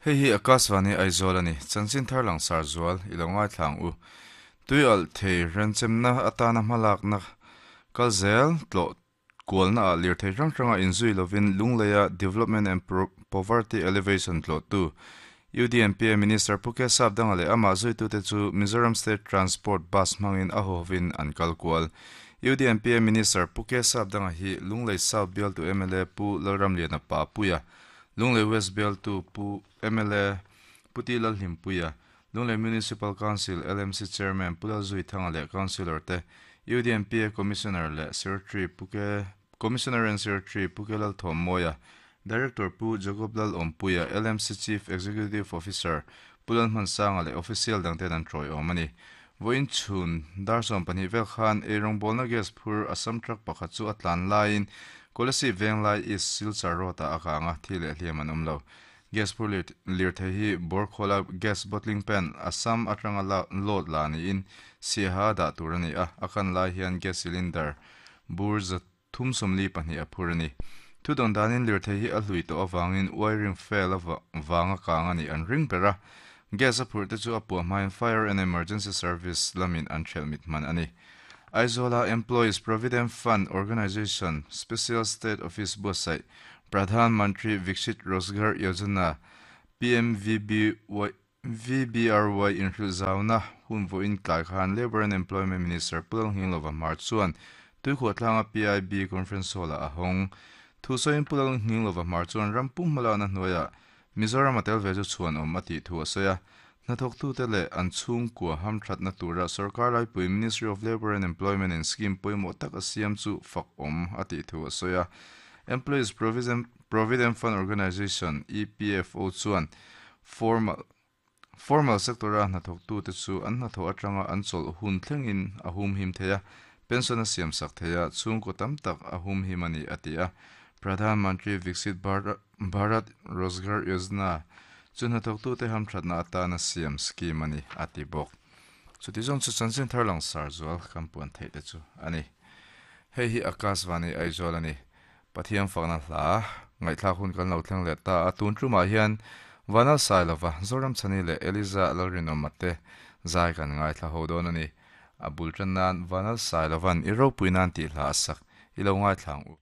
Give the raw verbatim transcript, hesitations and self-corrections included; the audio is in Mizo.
Hei hi Akashvani Aizawl ani chanchin thar lang sar zual ilo ngai thlang u tui al thei renchemna atana hmalak na kalzel tlo kualna a lir thei rang ranga inzui lovin lungleia development and poverty elevation tlo tu U D N P A Minister Puke Sapdanga le ama zui tu te chu Mizoram State Transport Bus mangin a hovin an kalkual U D N P A Minister Puke Sapdanga hi Lunglei South Bial tu M L A Pu Lalramliana Pa Puya Lunglei West Bial tu Pu M L A Puti Lalhimpuia Lunglei Municipal Council L M C Chairman Pula Zui Thanga le Councilor te U D N P A Commissioner le Secretary Puke Commissioner and Secretary Puke Lal Thom Moya Director Pu Jacob Lal Ompuia L M C Chief Executive Officer Pulan Mansanga le Official dangte an troi omani voin chun darsom pani vel khan erong bolna gas phur Assam truck pakhat chu atlan lain Kolasi venglai is Silchar rota akanga thile hliam an omlo gas phur lir the hi borkhola gas bottling pen Assam atanga la load la ni in siha da turani a akan lai hian gas cylinder bur za thum somli pahnih a phur ani thu don danin lir the hi a hlui to awangin wiring fail a wanga kanga ni an ring bera gas a phur te chu a pu hmain fire and emergency service lamin an thel mit man ani Aizola Employees Provident Fund Organization Special State Office Bosai Pradhan Mantri Viksit Rozgar Yojana P M V B Y V B R Y inhrilzauna hun vo in tlai khan Labor and Employment Minister Pulal Hinglova Marchuan tuikhuatlanga P I B Conference Hall a hong thusoin Pulal Hinglova Marchuan rampum malana hnuaia Mizoram atel ve chu chuan awm ati thu a sawi a hnathawk tu te leh an chhungkua hamthat na tura sarkar laipui Ministry of Labor and Employment in scheme pawimawh tak a siam chu fak awm ati thu a sawi a Employees Provident Fund Organization E P F O chuan formal formal sectora hnathawk tu te chu an hnathawh atanga an chawlh hun thlengin a hum him theia pension a siam sak theia chhungkaw tam tak a hum him ani ati a Pradhan Mantri Viksit Bharat Rozgar Yojana chu hnathawk tu te hamthat na atana siam scheme ani ati bawk chuti zawng chu chanchin thar lang sar zual kampuan theih te chu ani hei hi Akashvani Aizawl ani Pathian fakna hla ngaihthlak hun kan lo thleng leh ta a tun tumah hian Vanal Sailova Zoram Chani leh Eliza Lalrinawma te zai kan ngaithla ho dawn ani a bul tan nan Vanal Sailovan i ropui nan tih hla a sak i lo ngaithlang u.